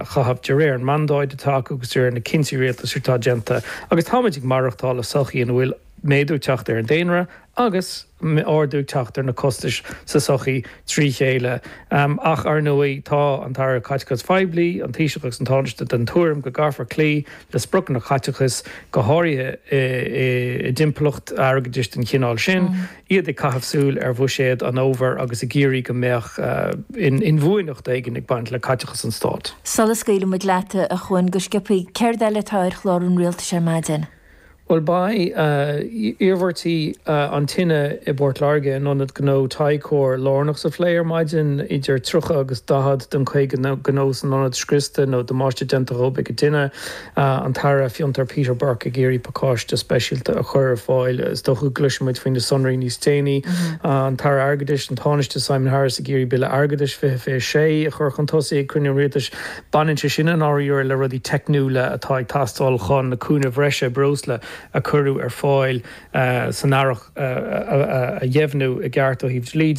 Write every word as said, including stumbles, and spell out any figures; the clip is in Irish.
a chaitheamh de réir an mandáid atá acu agus de réir na cinntí rialtais atá déanta agus táimid ag maireachtáil i sochaí ina bhfuil méadú ag teacht ar an daonra agus ardú ag teacht ar na costais sa sochaí trí chéile. Ach ar ndóigh tá an tAire Caiteachais Phoiblí, an Taoiseach agus an Tánaiste den tuairim go gcaithfear cloí le spriocanna caiteachais, go háirithe i dtimpeallacht airgeadais den chineál sin, iad ag caitheamh súil ar bhuiséad an fhómhair agus ag iarraidh go mbeadh inbhuanaitheacht éigin ag baint le caiteachas an stáit. Sula scaoileann muid leat, a Chuain, go sciobtha, céard eile atá ar chlár an rialtais ar maidin? Bhuel, beidh iarmhairtí an tine i bPort Láirge in ionad gnó Ticor lárnach sa phlé ar maidin. Idir tríocha agus daichead den caoga gnó san ionad scriosta nó damáiste déanta dhóibh ag an tine. An tAire Fiontar Peter Burke ag iarraidh pacáiste speisialta a chur ar fáil. Is dócha go gcloisfidh muid faoi na sonraí níos déanaí. An tAire Airgeadais, an Tánaiste Simon Harris ag iarraidh Bille Airgeadais fiche fiche sé a chur chun tosaigh ag cruinniú an Rialtais. Baineann sé sin i ndáiríre le rudaí teicniúla atá ag teastáil chun na cúnaimh bhreise breosla a cuireadh ar fáil san earrach a dheimhniú i gceart ó thaobh dlí de.